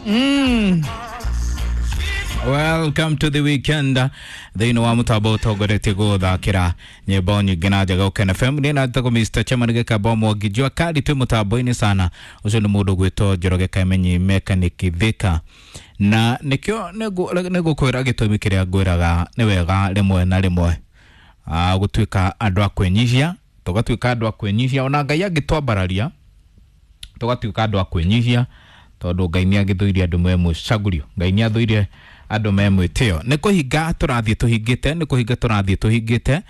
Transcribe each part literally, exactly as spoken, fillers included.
Mm. Welcome to the weekend. Thĩinĩ wa mũtambo ũtongoretie gũthakĩra nyĩmbo nyingĩ na njega Ũkena F M. Niĩ natagwo Mister Chairman Gĩkamba Mwangi Jua kali twĩ mũtambo-inĩ sana. Ũcio nĩ mũndũ ũgwĩtwo Njoroge Kamenyi Mechanic Thika. Na nĩkĩo nĩngũkwĩra gĩtũmi kĩrĩa ngwĩraga nĩ wega rĩmwe na rĩmwe ah, gũtuĩka andũ a kwĩnyihia, tũgatuĩka andũ a kwĩnyihia ona Ngai angĩtwambararia tũgatuĩka andũ a kwĩnyihia tondũ Ngai nĩ agĩthũire andũ me mũcagũrio, Ngai nĩ athũire andũ me mwĩtĩo. Nĩ kũhinga tũrathiĩ tũhingĩte, nĩ kũhinga tũrathiĩ tũhingĩte,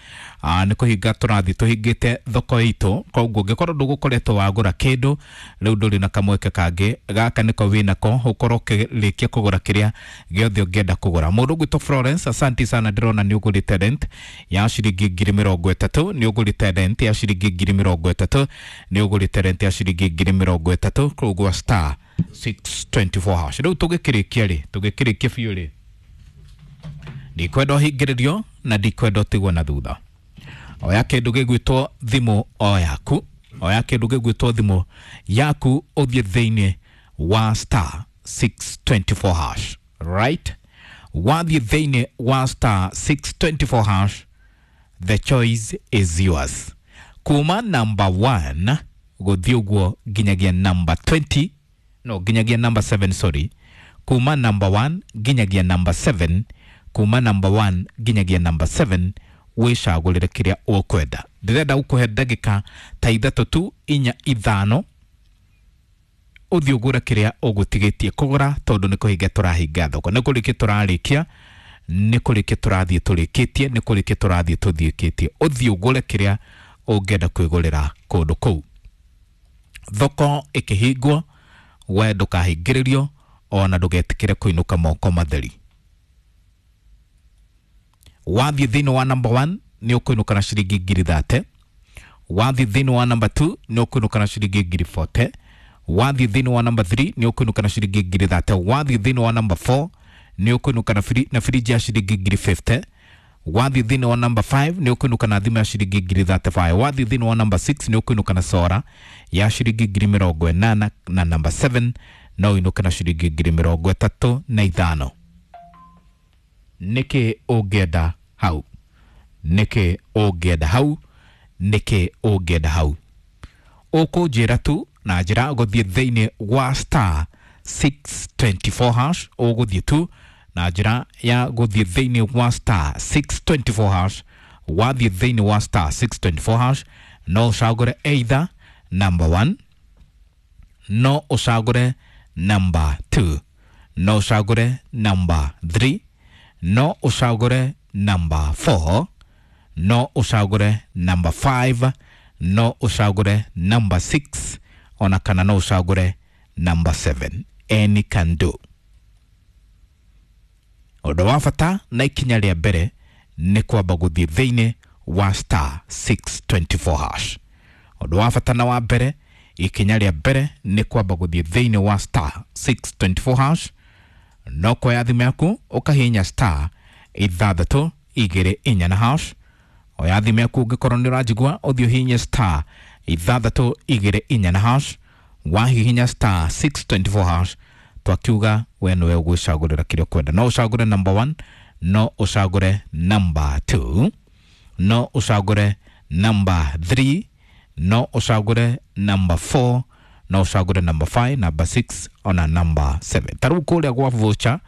ah, nĩ kũhinga tũrathiĩ tũhingĩte thoko itũ. Koguo ũngĩkorwo ndũgũkoretwo wagũra kĩndũ rĩu ndũrĩ na kamweke kangĩ, gaka nĩko wĩnako ũkorwo ũkĩrĩkia kũgũra kĩrĩa gĩothe ũngĩenda kũgũra. Mũndũ ũgwĩtwo Florence, asanti sana, ndĩrona nĩ ũgũrĩte rent ya ciringi ngiri mĩrongo ĩtatũ, nĩ ũgũrĩte rent ya ciringi ngiri mĩrongo ĩtatũ, nĩ ũgũrĩte rent ya ciringi ngiri mĩrongo ĩtatũ koguo star six twenty-four hash. Rĩu tũgĩkĩrĩkia rĩ, tũgĩkĩrĩkia biũ rĩ, ndikwenda ũhingĩrĩrio na ndikwenda ũtigwo na thutha. Oya kĩndũ gĩgwĩtwo thimũ o yaku, oya kĩndũ gĩgwĩtwo thimũ yaku ũthiĩ thĩinĩ wa star six twenty-four hash, right? Wathiĩ thĩinĩ wa star six twenty-four hash, the choice is yours. Kuma number one gũthiĩ ũguo nginyagia number twenty, no nginyagia number seven, sorry. Kuma number one nginyagia number seven, kuma number one nginyagia number seven, wĩcagũrĩre kĩrĩa ũkwenda. Ndĩrenda gũkũhe ndagĩka ta ithatũ tu, inya, ithano, ũthiĩ ũgũre kĩrĩa ũgũtigĩtie kũgũra tondũ nĩ kũhinga tũrahinga thoko, nĩ kũrĩkia tũrarĩkia, nĩ kũrĩkia tũrathiĩ tũrĩkĩtie, nĩ kũrĩkia tũrathiĩ tũthiĩkĩtie. Ũthiĩ ũgũre kĩrĩa ũngĩenda kwĩgũrĩra kũndũ kũu. Thoko ĩkĩhingwo, we ndũkahingĩrĩrio ona ndũgetĩkĩre kũinũka moko matheri. Wathiĩ thĩinĩ wa number one nĩ ũkũinũka na ciringi ngiri thate, wathiĩ thĩinĩ wa number two nĩ ũkũinũka na ciringi ngiri forty, wathiĩ thĩinĩ wa number three nĩ ũkũinũka na ciringi ngiri thate, wathiĩ thĩinĩ wa number four nĩ ũkũinũka na firi-, na firiji ya ciringi ngiri fifty, wathiĩ thĩinĩ wa number five nĩ ũkũinũka na thimũ ya ciringi ngiri thirty-five, wathiĩ thĩinĩ wa number six nĩ ũkũinũka na sora ya ciringi ngiri mĩrongo ĩnana, na number seven no ũinũke na ciringi ngiri mĩrongo ĩtatũ na ithano. Nĩkĩ ũngĩenda hau? Nĩkĩ ũngĩenda hau? Nĩkĩ ũngĩenda hau? Ũkũnjĩra tu na njĩra gũthiĩ thĩinĩ wa star six twenty-four hash, ũgũthiĩ tu na njĩra ya gũthiĩ thĩinĩ wa star six twenty-four hash. Wathiĩ thĩinĩ wa star six twenty-four hash no ũcagũre either number one, no ũcagũre number two, no ũcagũre number three, no ũcagũre number four, no ũcagũre number five, no ũcagũre number six, ona kana no ũcagũre number seven. Any can do. Ũndũ wa bata na ikinya rĩa mbere nĩ kwamba gũthiĩ thĩinĩ wa star six twenty-four hash. Ũndũ wa bata na wa mbere, ikinya rĩa mbere nĩ kwamba gũthiĩ thĩinĩ wa star six twenty-four hash. No kuoya thimũ yaku ũkahihinya star ithathatũ igĩrĩ inya na hash. Oya thimũ yaku ũngĩkorwo nĩ ũranjigua, ũthiĩ ũhihinye star ithathatũ igĩrĩ inya na hash. Wahihinya star six twenty-four hash, twakiuga we nĩwe ũgwĩcagũrĩra kĩrĩa ũkwenda. No ũcagũre number one, no ũcagũre number two, no ũcagũre number three, no ũcagũre number four, no ũcagũre number five, number six, ona number seven. Ta rĩu kũrĩa gwa voucher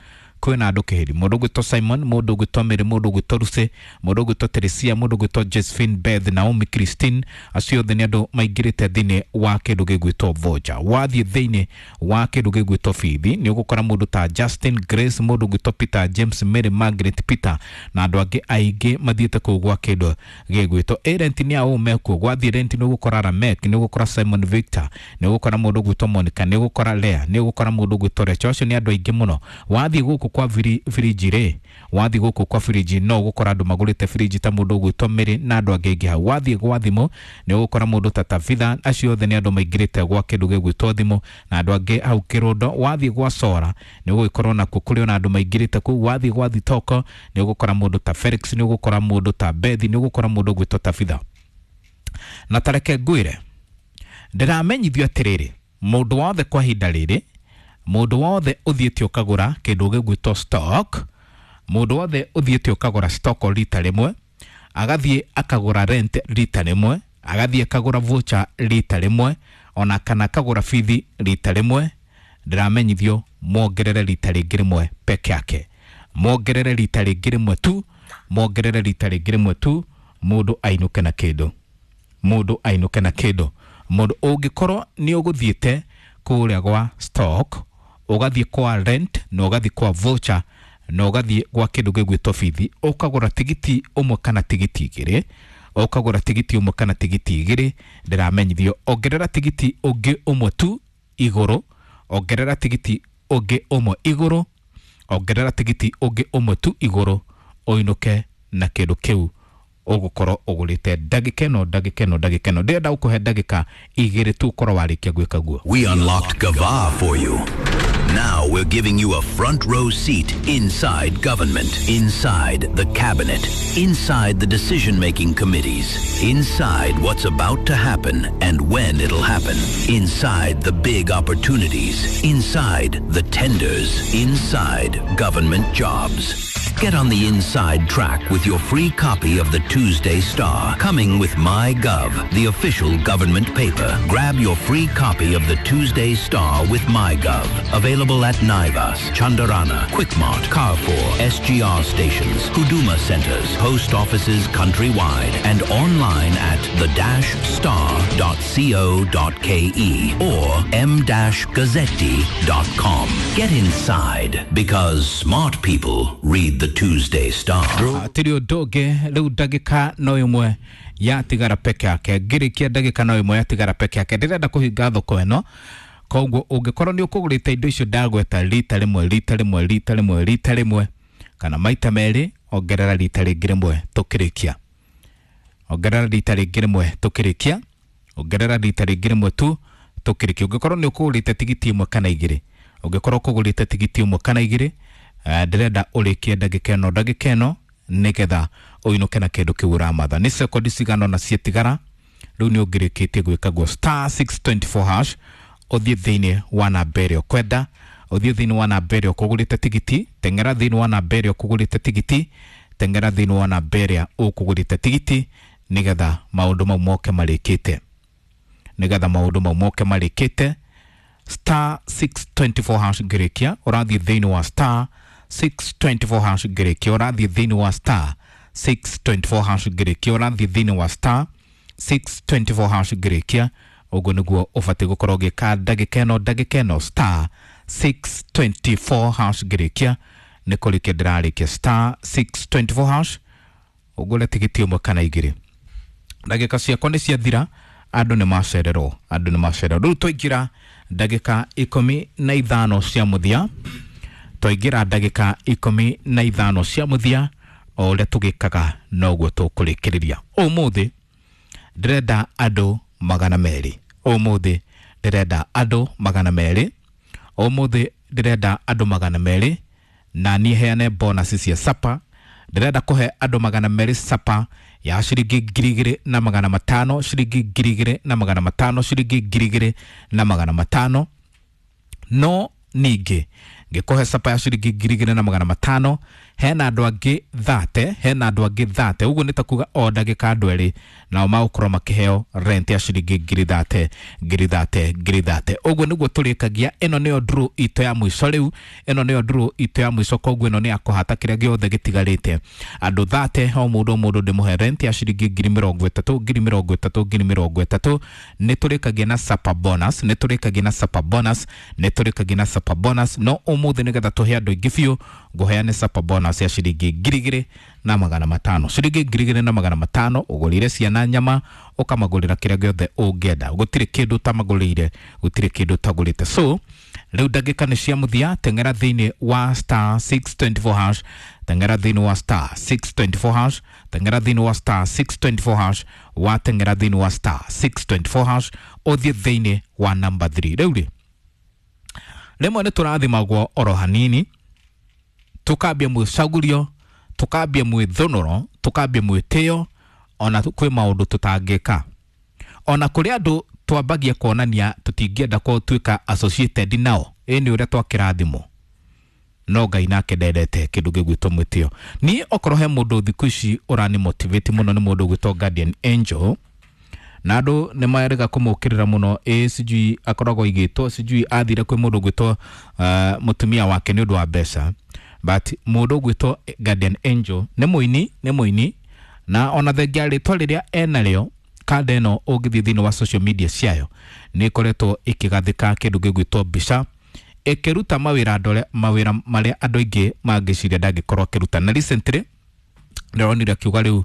kwĩna andũ kĩhĩri, mũndũ ũgwĩtwo Simon, mũndũ ũgwĩtwo Mary, mũndũ ũgwĩtwo Lucy, mũndũ ũgwĩtwo Teresia, mũndũ ũgwĩtwo Josephine, Beth, Naomi, Christine, acio othe nĩ andũ maingĩrĩte thĩinĩ wa kĩndũ gĩgwĩtwo voucher. Wathiĩ thĩinĩ wa kĩndũ gĩgwĩtwo bithi nĩ ũgũkora mũndũ ta Justin, Grace, mũndũ ũgwĩtwo Peter, James, Mary, Margaret, Peter na andũ angĩ aingĩ mathiĩte kũu gwa kĩndũ gĩgwĩtwo ĩ rent nĩ aũ mekuo. Gwathiĩ rent nĩ ũgũkora Ramek, nĩ ũgũkora Simon Victor, nĩ ũgũkora mũndũ ũgwĩtwo Monica, nĩ ũgũkora Lea, nĩ ũgũkora mũndũ ũgwĩtwo Rachel. Acio nĩ andũ aingĩ mũno. Wathiĩ gũkũ kwa firi-, firiji rĩ, wathiĩ gũkũ kwa firiji no ũgũkora andũ magũrĩte firiji ta mũndũ ũgwĩtwo Mary na andũ angĩ aingĩ hau. Wathiĩ gwa thimũ nĩ ũgũkora mũndũ ta Tabitha, acio othe nĩ andũ maingĩrĩte gwa kĩndũ gĩgwĩtwo thimũ na andũ angĩ hau kĩrũndo. Wathiĩ gwa Sora nĩ ũgũgĩkorwo nakuo kũrĩ ona andũ maingĩrĩte kũu. Wathiĩ gwa Thitoko nĩ ũgũkora mũndũ ta Felix, nĩ ũgũkora mũndũ ta Beth, nĩ ũgũkora mũndũ ũgwĩtwo Tabitha. Na tareke ngwĩre, ndĩramenyithio atĩrĩrĩ, mũndũ wothe kwa ihinda rĩrĩ Mũndũ wothe ũthiĩte ũkagũra kĩndũ gĩgwĩtwo stock, mũndũ wothe ũthiĩte ũkagũra stock rita rĩmwe, agathiĩ akagũra rent rita rĩmwe, agathiĩ akagũra voucher rita rĩmwe, ona kana akagũra bithi rita rĩmwe, ndĩramenyithio mongerere rita rĩngĩ rĩmwe peke yake, mongerere rita rĩngĩ rĩmwe tu, mongerere rita rĩngĩ rĩmwe tu, mũndũ ainũke na kĩndũ, mũndũ ainũke na kĩndũ. Mũndũ ũngĩkorwo nĩ ũgũthiĩte kũrĩa gwa stock, ũgathiĩ kwa rent na ũgathiĩ kwa voucher na ũgathiĩ gwa kĩndũ gĩgwĩtwo bithi, ũkagũra tigiti ũmwe kana tigiti igĩrĩ, ũkagũra tigiti ũmwe kana tigiti igĩrĩ, ndĩramenyithio ongerera tigiti ũngĩ ũmwe tu igũrũ, ongerera tigiti ũngĩ ũmwe igũrũ, ongerera tigiti ũngĩ ũmwe tu igũrũ, ũinũke na kĩndũ kĩu ũgũkorwo ũgũrĩte ndagĩka ĩno, ndagĩka ĩno, ndagĩka ĩno. Ndĩrenda gũkũhe ndagĩka igĩrĩ tu ũkorwo warĩkia gwĩka guo. We unlocked Gava for you. Now we're giving you a front row seat inside government, inside the cabinet, inside the decision-making committees, inside what's about to happen and when it'll happen, inside the big opportunities, inside the tenders, inside government jobs. Get on the inside track with your free copy of the Tuesday Star, coming with MyGov, the official government paper. Grab your free copy of the Tuesday Star with MyGov. Available at Naivas, Chandarana, Quickmart, Carrefour, S G R stations, Huduma centers, post offices countrywide, and online at the dash star dot co dot ke or m dash gazzetti dot com. Get inside, because smart people read the Tuesday Star. Hatirĩ ũndũ ũngĩ rĩu ndagĩka no ĩmwe yatigara peke yake, ngĩrĩkia ndagĩka no ĩmwe yatigara peke yake. Ndĩrenda kũhinga thoko ĩno, koguo ũngĩkorwo nĩ ũkũgũrĩte indo icio ndagweta rita rĩmwe, rita rĩmwe, rita rĩmwe, rita rĩmwe kana maita merĩ, ongerera rita rĩngĩ rĩmwe tũkĩrĩkia, ongerera rita rĩngĩ rĩmwe tũkĩrĩkia, ongerera rita rĩngĩ rĩmwe tu tũkĩrĩkia. Ũngĩkorwo nĩ ũkũgũrĩte tigiti ĩmwe kana igĩrĩ, ũngĩkorwo ũkũgũrĩte tigiti ĩmwe kana igĩrĩ, ndĩrenda ũrĩkie ndagĩka ĩno, ndagĩka ĩno, nĩgetha ũinũke na kĩndũ kĩu ũramatha. Nĩ sekondi cigana ũna ciatigara, rĩu nĩ ũngĩrĩkĩtie gwĩka guo. Star six twenty four hash, ũthiĩ thĩinĩ wa namba ĩrĩa ũkwenda, ũthiĩ thĩinĩ wa namba ĩrĩa ũkũgũrĩte tigiti, teng'era thĩinĩ wa namba ĩrĩa ũkũgũrĩte tigiti, teng'era thĩinĩ wa namba ĩrĩa ũkũgũrĩte tigiti, nĩgetha maũndũ mau moke marĩkĩte, nĩgetha maũndũ mau moke marĩkĩte. Star six twenty four hash ngĩrĩkia, ũrathiĩ thĩinĩ wa star six twenty four hash ngĩrĩkia, ũrathiĩ thĩinĩ wa star six twenty four hash ngĩrĩkia, ũrathiĩ thĩinĩ wa star six twenty four hash ngĩrĩkia. Ũguo nĩguo ũbatiĩ gũkorwo ũgĩka ndagĩka ĩno, ndagĩka ĩno, star six twenty four hash ngĩrĩkia. Nĩ kũrĩkia ndĩrarĩkia star six twenty four hash, ũgũre tigiti ũmwe kana igĩrĩ. Ndagĩka ciakwa nĩ ciathira, andũ nĩ macererwo, andũ nĩ macererwo. Rĩu twaingĩra ndagĩka ikũmi na ithano cia mũthia, twaingĩra ndagĩka ikũmi na ithano cia mũthia, o ũrĩa tũgĩkaga noguo tũkũrĩkĩrĩria. Ũmũthĩ ndĩrenda andũ magana merĩ, ũmũthĩ ndĩrenda andũ magana merĩ, ũmũthĩ ndĩrenda andũ magana merĩ, na niĩ heane bonus cia sapa. Ndĩrenda kũhe andũ magana merĩ sapa ya ciringi ngiri igĩrĩ na magana matano, ciringi ngiri igĩrĩ na magana matano, ciringi ngiri igĩrĩ na magana matano. No ningĩ ngĩkũhe sapa ya ciringi ngiri igĩrĩ na magana matano, hena andũ angĩ thate, hena andũ angĩ thate. Ũguo nĩ ta kuga o ndagĩka andũ erĩ nao magũkorwo makĩheo rent ya ciringi ngiri thate, ngiri thate, ngiri thate. Ũguo nĩguo tũrĩkagia. Ĩno nĩyo draw itũ ya mũico rĩu, ĩno nĩyo draw itũ ya mũico, koguo ĩno nĩ ya kũhata kĩrĩa gĩothe gĩtigarĩte. Andũ thate, o mũndũ o mũndũ ndĩmũhe rent ya ciringi ngiri mĩrongo ĩtatũ, ngiri mĩrongo ĩtatũ, ngiri mĩrongo ĩtatũ. Nĩ tũrĩkagia na sapa bonus, nĩ tũrĩkagia na sapa bonus, nĩ tũrĩkagia na sapa bonus. No ũmũthĩ nĩgetha tũhe andũ aingĩ biũ, ngũheane sapa bonus ya ciringi ngiri igĩrĩ na magana matano, ciringi ngiri igĩrĩ na magana matano. Ũgũrĩre ciana nyama, ũkamagũrĩra kĩrĩa gĩothe ũngĩenda, gũtirĩ kĩndũ ũtamagũrĩire, gũtirĩ kĩndũ ũtagũrĩte. So rĩu ndagĩka nĩ cia mũthia, teng'era thĩinĩ wa star six twenty four hash, teng'era thĩinĩ wa star six twenty four hash, teng'era thĩinĩ wa star six twenty four hash, wa teng'era thĩinĩ wa star six twenty four hash, ũthiĩ thĩinĩ wa number three. Rĩu rĩ, rĩmwe nĩ tũrathimagwo oro hanini, tukambia mwĩcagurio, tukambia mwĩthũnũro, tukambia mwĩtĩo, ona kwĩ maũndũ tũtangĩka. Ona kũrĩ andũ twambagia kuonania tũtingĩenda gũtuĩka associated nao. Ĩ nĩ ũrĩa twakĩrathimwo, no Ngai nake ndendete kĩndũ gĩgwĩtwo mwĩtĩo. Niĩ okorwo he mũndũ thikũ ici ũrani motivate mũno nĩ mũndũ ũgwĩtwo Guardian Angel, na andũ nĩ marega kũmũkĩrĩra mũno. Ĩ sijui akoragwo aigĩtwo, sijui athire kwĩ mũndũ ũgwĩtwo uh, mũtumia wake nĩ ũndũ wa mbeca, but mũndũ ũgwĩtwo Guardian Angel nĩ mũini, nĩ mũini, na ona thengia rĩtwa rĩrĩa enarĩo, kanda ĩno ũngĩthiĩ thĩinĩ wa social media ciayo nĩ ĩkoretwo ĩkĩgathĩka kĩndũ gĩgwĩtwo mbica, ĩkĩruta mawĩra andũ arĩa, mawĩra marĩa andũ aingĩ mangĩciria ndangĩkorwo akĩruta. Na recently ndĩronire akiuga rĩu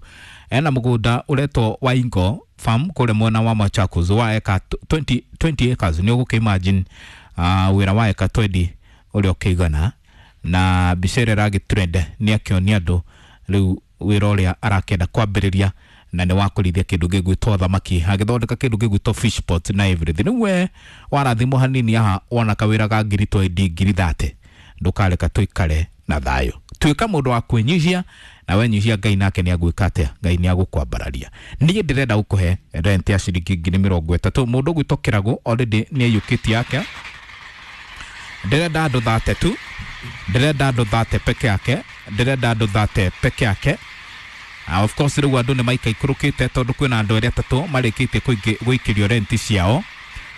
ena mũgũnda ũretwo Waingo Farm kũrĩa mwena wa Machakos wa eka twenty, twenty acres. Nĩ ũgũkĩ imagine uh, wĩra wa eka twenty ũrĩa ũkĩigana. Na mbica ĩrĩa ĩragĩ trend nĩ akĩonia andũ rĩu wĩra ũrĩa arakĩenda kwambĩrĩria, na nĩ wa kũrĩithia kĩndũ gĩgwĩtwo thamaki, agĩthondeka kĩndũ gĩgwĩtwo fish pot na everything. Rĩu we warathimwo hanini haha wona kawĩra ka ngiri twenty, ngiri thirty, ndũkareka tũikare na thayũ. Tuĩka mũndũ wa kwĩnyihia, na wenyihia Ngai nake nĩ agwĩka atĩa? Ngai nĩ agũkwambararia. Niĩ ndĩrenda gũkũhe rent ya ciringi ngiri mĩrongo ĩtatũ. Mũndũ ũgwĩtwo Kĩragũ already nĩ aiyũkĩtie yake. Ndĩrenda andũ thate tu, ndĩrenda andũ thate peke yake, ndĩrenda andũ thate peke yake. Uh, of course rĩu andũ nĩ maikaikũrũkĩte tondũ kwĩna andũ erĩ atatũ marĩkĩtie gũikĩrio renti ciao,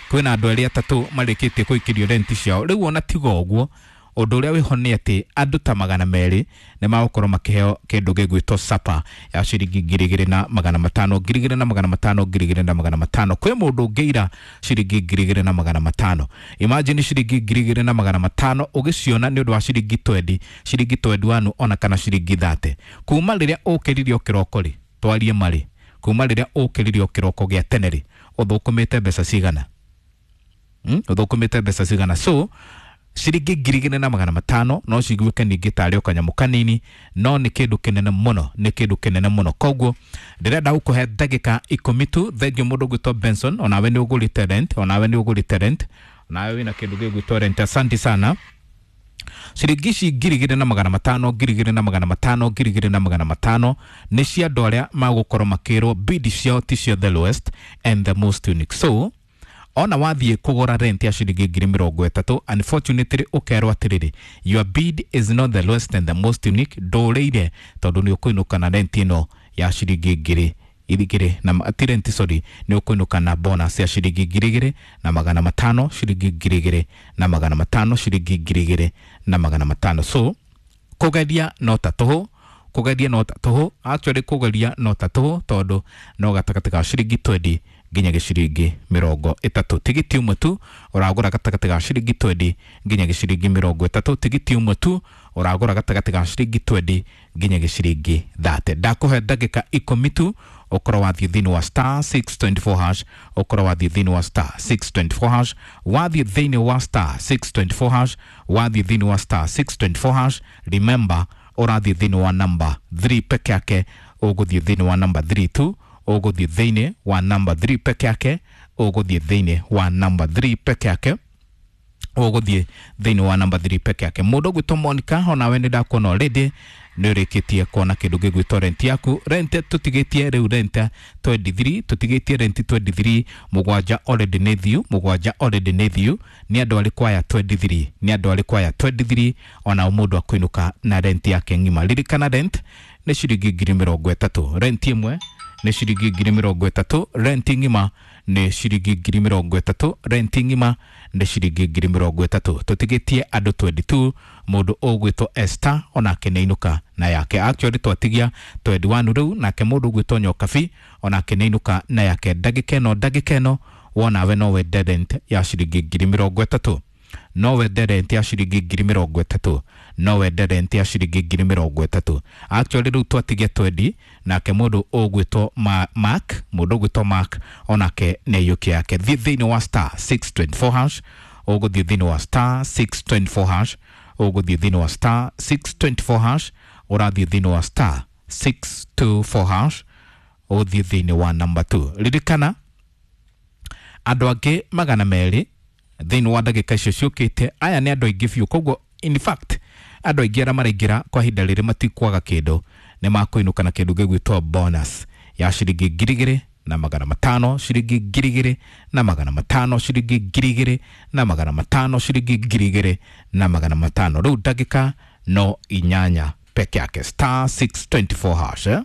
kwĩna andũ erĩ atatũ marĩkĩtie gũikĩrio renti ciao. Rĩu ona tiga ũguo, ũndũ ũrĩa wĩho nĩ atĩ andũ ta magana merĩ nĩ magũkorwo makĩheo kĩndũ gĩgwĩtwo sapa ya ciringi ngiri igĩrĩ na magana matano, ngiri igĩrĩ na magana matano, ngiri igĩrĩ na magana matano. Kwĩ mũndũ ũngĩira ciringi ngiri igĩrĩ na magana matano. Imagine ciringi ngiri igĩrĩ na magana matano ũgĩciona nĩ ũndũ wa ciringi twenty, ciringi twenty one ona kana ciringi thirty. Kuma rĩrĩa ũkĩririo kĩroko rĩ, twarie marĩ, kuma rĩrĩa ũkĩririo kĩroko gĩa tene rĩ, ũthũkũmĩte mbeca cigana? Hmm? Ũthũkũmĩte mbeca cigana? So ciringi ngiri igĩrĩ na magana matano no ciguĩke ningĩ tarĩ o kanyamũ kanini, no nĩ kĩndũ kĩnene mũno, nĩ kĩndũ kĩnene mũno. Koguo ndĩrenda gũkũhe ndagĩka ikũmi tu. Thengiũ mũndũ ũgwĩtwo Benson, onawe nĩ ũgũrĩte rent, onawe nĩ ũgũrĩte rent, onawe wĩna kĩndũ gĩgwĩtwo rent. Asante sana. Ciringi ici ngiri igĩrĩ na magana matano, ngiri igĩrĩ na magana matano, ngiri igĩrĩ na magana matano nĩ cia andũ arĩa magũkorwo makĩrwo bid ciao ti cio the lowest and the most unique. So ona wathiĩ kũgũra rent ya ciringi ngiri mĩrongo ĩtatũ, unfortunately ũkerwo atĩrĩrĩ, your bid is not the lowest and the most unique, ndũrĩire tondũ nĩ ũkũinũka na rent ĩno ya ciringi ngiri igĩrĩ na ti rent, sorry, nĩ ũkũinũka na bonus ya ciringi ngiri igĩrĩ na magana matano, ciringi ngiri igĩrĩ na magana matano, ciringi ngiri igĩrĩ na magana matano. So kũgeria no ta tũhũ, kũgeria no ta tũhũ, actually kũgeria no ta tũhũ tondũ no gatagatĩ ka ciringi twenty nginya gĩciringi mĩrongo ĩtatũ. Tigiti ũmwe tu ũragũra gatagatĩ ga ciringi twenty nginya gĩciringi mĩrongo ĩtatũ. Tigiti ũmwe tu ũragũra gatagatĩ ga ciringi twenty nginya gĩciringi thirty. Ndakũhe ndagĩka ikũmi tu ũkorwo wathiĩ thĩinĩ wa star six twenty four hash, ũkorwo wathiĩ thĩinĩ wa star six twenty four hash, wathiĩ thĩinĩ wa star six twenty four hash, wathiĩ thĩinĩ wa star six twenty four hash. Remember ũrathiĩ thĩinĩ wa number three peke yake, ũgũthiĩ thĩinĩ wa number three tu, ũgũthiĩ thĩinĩ wa number three peke yake, ũgũthiĩ thĩinĩ wa number three peke yake, ũgũthiĩ thĩinĩ wa number three peke yake. Mũndũ ũgwĩtwo Monica, onawe nĩ ndakuona already nĩ ũrĩkĩtie kuona kĩndũ gĩgwĩtwo rent yaku. Rent tũtigĩtie rĩu rent twenty three, tũtigĩtie rent twenty three, mũgwanja already nĩ thiu, mũgwanja already nĩ thiu. Nĩ andũ arĩkũ aya twenty three? Nĩ andũ arĩkũ aya twenty three? Ona mũndũ akũinũka na rent yake ng'ima. Ririkana rent nĩ ciringi ngiri mĩrongo ĩtatũ, rent ĩmwe nĩ ciringi ngiri mĩrongo ĩtatũ, rent ng'ima nĩ ciringi ngiri mĩrongo ĩtatũ, rent ng'ima nĩ ciringi ngiri mĩrongo ĩtatũ. Tũtigĩtie andũ twenty two, mũndũ ũgwĩtwo Esther onake nĩ ainũka na yake. Actually twatigia twenty one rĩu, nake mũndũ ũgwĩtwo Nyokabi onake nĩ ainũka na yake. Ndagĩka ĩno, ndagĩka ĩno wonawe no wende rent ya ciringi ngiri mĩrongo ĩtatũ, no wende rent ya ciringi ngiri mĩrongo ĩtatũ, no wende rent ya ciringi ngiri mĩrongo ĩtatũ. Actually rĩu twatigia twenty, nake mũndũ ũgwĩtwo Mark, mũndũ ũgwĩtwo Mark onake nĩ aiyũkia yake. Thiĩ thĩinĩ wa star six twenty four hash, ũgũthiĩ thĩinĩ wa star six twenty four hash, ũgũthiĩ thĩinĩ wa star six twenty four hash, ũrathiĩ thĩinĩ wa star six two four hash, ũthiĩ thĩinĩ wa number two. Ririkana andũ angĩ magana merĩ thĩinĩ wa ndagĩka icio ciũkĩte, aya nĩ andũ aingĩ biũ. Koguo in fact andũ aingĩ arĩa maraingĩra kwa ihinda rĩrĩ matikwaga kĩndũ, nĩ makũinũka na kĩndũ gĩgwĩtwo bonus ya ciringi ngiri igĩrĩ na magana matano, ciringi ngiri igĩrĩ na magana matano, ciringi ngiri igĩrĩ na magana matano, ciringi ngiri igĩrĩ na magana matano. Rĩu ndagĩka no inyanya peke yake, star six twenty-four hash, eh?